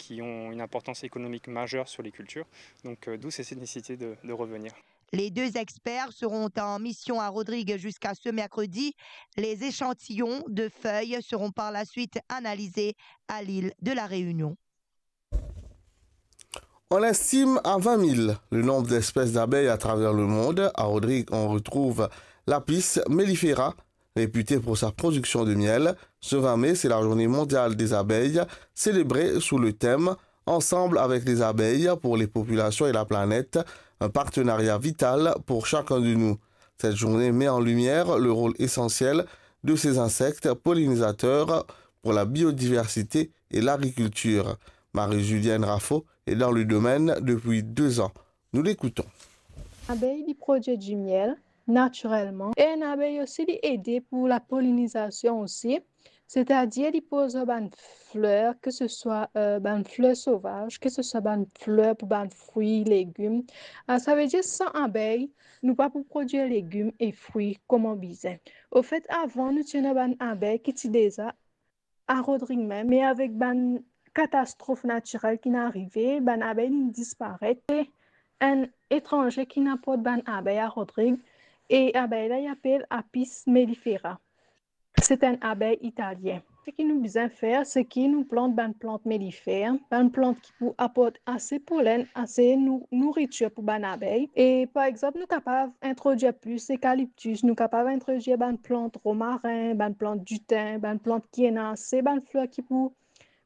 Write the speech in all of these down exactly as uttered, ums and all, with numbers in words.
qui ont une importance économique majeure sur les cultures. Donc, euh, d'où cette nécessité de, de revenir. Les deux experts seront en mission à Rodrigues jusqu'à ce mercredi. Les échantillons de feuilles seront par la suite analysés à l'île de la Réunion. On estime à vingt mille le nombre d'espèces d'abeilles à travers le monde. À Rodrigues, on retrouve l'Apis mellifera, réputée pour sa production de miel. Ce vingt mai, c'est la journée mondiale des abeilles, célébrée sous le thème Ensemble avec les abeilles pour les populations et la planète, un partenariat vital pour chacun de nous. Cette journée met en lumière le rôle essentiel de ces insectes pollinisateurs pour la biodiversité et l'agriculture. Marie-Julienne Raffo est dans le domaine depuis deux ans. Nous l'écoutons. Abey, li prodwir dimiel natirelman. E enn abey osi, li ede pou lapolinizasion osi. Setadir, li poz lor bann fler, ke se swa, euh, bann fler sovaz, ke se swa bann fler pou bann fri, legim. Ah, savedir, san abey, nou pa pou prodwir legim e fri kouma bizin. Anfet, avan, nou ti ena bann abey ki ti deza a Rodrig mem, me avek bann katastrof natirel ki'nn arive, bann abey inn disparet. E enn etranze ki'nn aport bann abey a Rodrig, e abey la, li apel Apis mellifera. Se enn abey italien. Seki nou bizin fer, seki nou plant bann plant mellifer, bann plant ki pou aport ase polenn, ase nou-, nouritir pou bann abey. E par exanp, nou kapav introdwir plis ekaliptis, nou kapav introdwir bann plant romarin, bann plant diten, bann plant ki ena ase bann fler ki pou,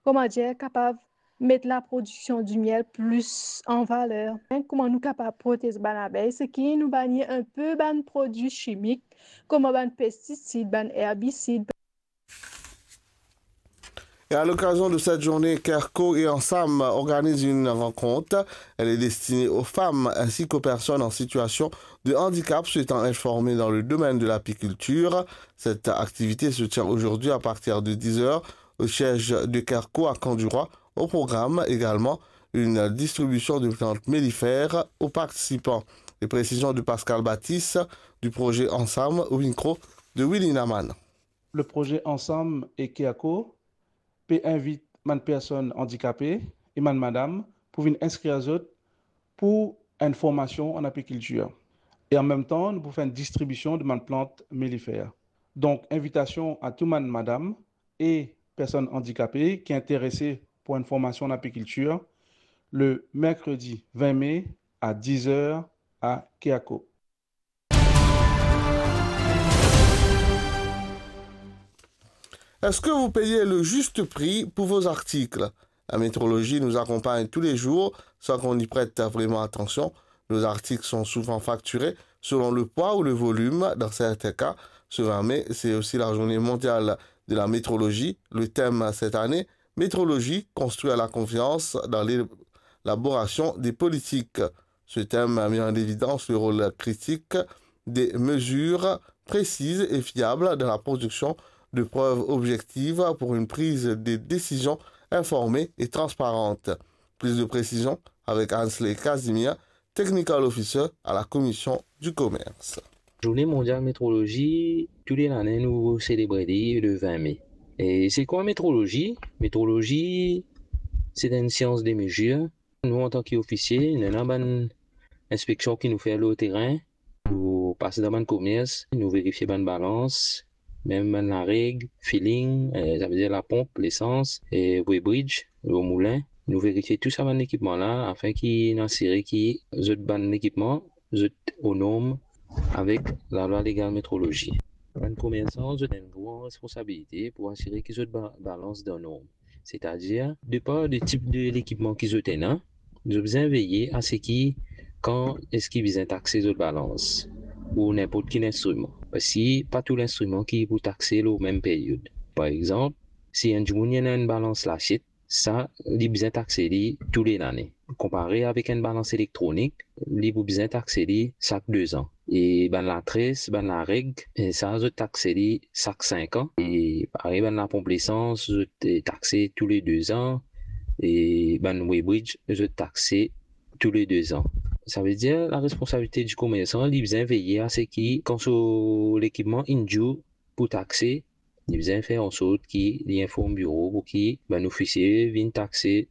kouma dir, kapav met laprodiksion dimiel plis an valer. Kouma nou kapav protez bann abey, seki nou banie inpe bann prodwi simik, kouma bann pestisid, bann erbisid. Et à l'occasion de cette journée, Kerco et Ensam organisent une rencontre. Elle est destinée aux femmes ainsi qu'aux personnes en situation de handicap souhaitant être formées dans le domaine de l'apiculture. Cette activité se tient aujourd'hui à partir de dix heures au siège de Kerco à Camp du Roi. Au programme également une distribution de plantes mellifères aux participants. Les précisions de Pascal Baptiste du projet Ensam au micro de Willy Naman. Le projet Ensam e Kerco pe invit bann personn andikape e bann madam pou vinn inskrir zot pou enn formasion an apikiltir. E an mem tan, nou pou fer enn distribision de bann plant mellifer. Donk, invitasion a tou bann madam e personn andikape ki interese pou enn formasion an apikiltir, le mercredi vingt mai à dix heures à Kerco. Est-ce que vous payez le juste prix pour vos articles ? La métrologie nous accompagne tous les jours sans qu'on y prête vraiment attention. Nos articles sont souvent facturés selon le poids ou le volume dans certains cas. Ce vingt mai, c'est aussi la journée mondiale de la métrologie. Le thème cette année, métrologie, construire la confiance dans l'élaboration des politiques. Ce thème met en évidence le rôle critique des mesures précises et fiables dans la production de preuves objectives pour une prise de décision informée et transparente. Plus de précisions avec Ansley Casimir, Technical Officer à la Commission du Commerce. Zourne Mondial Metrolozi, tou le lane nou selebre li le vin me. E se kwa metrolozi? Metrolozi, se enn sians de mezir. Nou, antan ki ofisie, nou ena bann inspeksion ki nou fer lor terin. Nou pas dan bann komers, nou verifie bann balans, mem bann lareg, filling, eh, savedir laponp, lesans, e weighbridge, lor moulin. Nou verifie tou sa bann ekipman la, afin ki nou asire ki zot bann ekipman, zot o norm avek lalwa legal metrolozi. Bann komersan, zot ena enn gran responsabilite pou asire ki zot ba-, balans dan norm. Setadir, depar de tip de lekipman ki zot ena, zot bizin veye a seki kan eski bizin takse zot balans, ou ninport ki linstriman. Parski pa tou linstriman ki pou takse lor mem peryod. Par exanp, si enn dimoun ena enn balans lasiet, sa li bizin takse li tou le lane. Konpare avek enn balans elektronik, li pou bizin takse li sak de zan. E bann latres, bann lareg, e sa zot takse li sak sink an. E parey bann laponp lesans, zot, e, takse tou le de zan. E bann weighbridge, zot takse tou le de zan. Savedir, laresponsabilite di komersan, li bizin veye a seki kan so lekipman inn due pou takse, li bizin fer ansort ki li inform biro pou ki bann ofisie vinn takse